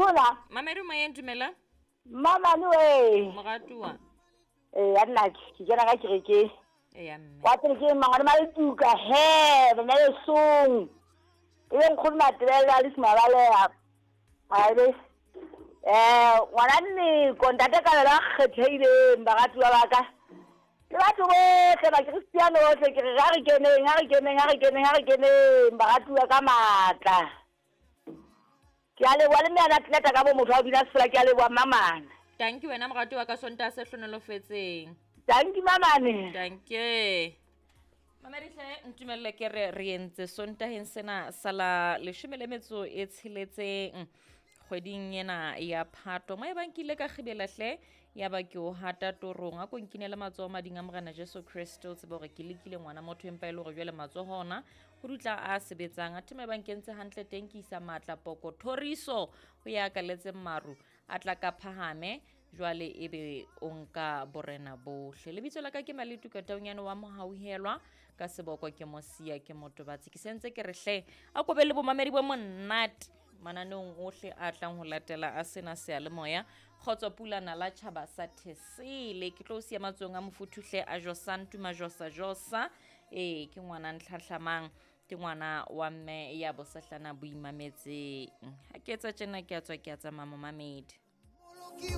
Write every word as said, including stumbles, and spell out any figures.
Mdula. Mamedi moyeng, dumela. Mama we. Moratuwa. Eh nna ke kena ka kereke. Eya mme. Wa tsere ke mangwane maletuka he, bana lesong. E be nkgono Matebele le Simabaleha. Abe. Eh ngwana nne kontate ka la kgethehileng baratuwa ba ka. Le batho bohle ba Kristiano bohle ke re ga re keneng, ga re keneng, ga re keneng, ga re keneng baratuwa ka matla. Ke a leboha le mme a atleta ka bo motho wa bina sefela, ke a leboha mamane. Thank you wena moratuwa ka Sontaha se hlonolofetseng. Thank you mamane. Thank you. Mamedi hle ntumelle ke re re entse Sontaheng sena sala leshome le metso e tsheletseng kgweding ena ya Phato. Mo e bang ke ile ka kgibela hle ya ba ke o hata torong a ko nkinele matsoho mading a Morena Jesu Kriste, o tsebe hore ke lekile ngwana motho empa e le hore jwale matsoho ona ho dutla a sebetsang. Athe mo e bang ke ntse hantle teng ke isa matla poko thoriso ho ya kaletseng maru a tla ka phahame jwale ebe o nka borena bohle. Lebitso la ka ke Maletuka Taunyane wa Mohauhelwa, ka seboko ke Mosia ke Motobatsi. Ke sentse ke re hle a kobe le bomamedi bo monate mananeong ohle a tlang ho latela a sena seyalemoya. Kgotso pulana la tjhaba sa Thesele. Ke tlo o siya matsohong a mofuthu hle a Josa Ntuma Josa Josa. Ee, ke ngwana ntlhahlamang, ke ngwana wa mme ya bosahlana boimametseng. Ha ke etsa tjena ke a tswa ke a tsamaya momamedi.